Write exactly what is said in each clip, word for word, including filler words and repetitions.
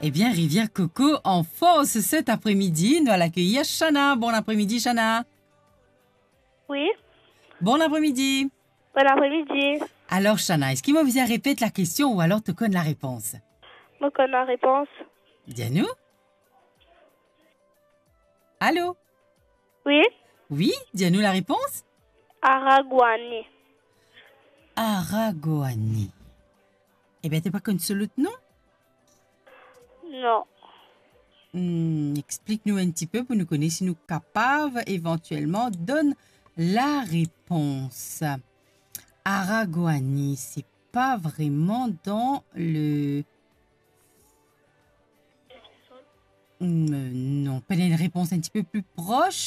Ebien, Rivière Coco an fors set apremidi. Nou al akeir Shana. Bon apremidi, Shana. Wi. Bon apremidi. Bon apremidi. Alor, Shana, eski mo bizin repet lakestion ou alor to konn larepons? Mo konn larepons. Dir nou. Alo? Wi. Wi, dir nou larepons. Aragoani. Aragoani. Ebien, to pa konn so lot nom? Non. Hmm, explik nou enn tipe pou nou kone si nou kapav evantielman donn larepons. Aragoani, se pa vreman dan le... Hmm, non, pena enn repons enn tipe pli pros.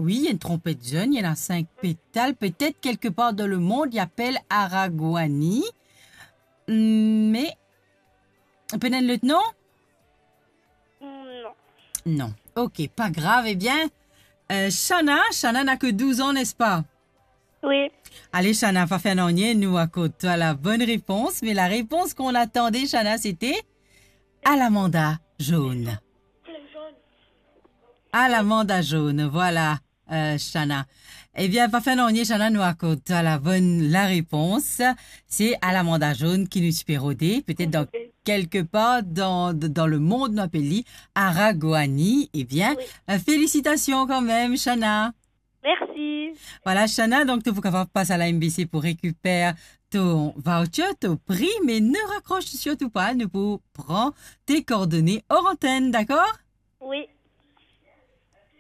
Wi, ena enn tranpet zonn, ena sink petal. Petet kelkepar dan lemond, li apel Aragoani. Me, pena enn lot nom? Non. Non. Ok, pa grav. Ebien, euh, Shana, Shana na ke douz an, nespa? Wi. Ale, Shana, pa fer nanye, nou akord twa la bonn repons, me larepons ki nou atann, Shana, sete alamanda zonn. Alamanda zonn, vwala, euh, Shana. Ebien, pa fer nanye, Shana, nou akord twa la bonn larepons. Se alamanda zonn ki nou ti pe rode, petet dan kelkepar dan, dan lemond, nou apel li Aragoani. Ebien, euh, felisitasion kanmem, Shana. Mersi. Vwala, Shana, donk to pou kapav pas a la M B C pou rekiper to voucher, to pri, me ne rakros sirtou pa, nou pou pran to koordone or antenn, dakor? Wi.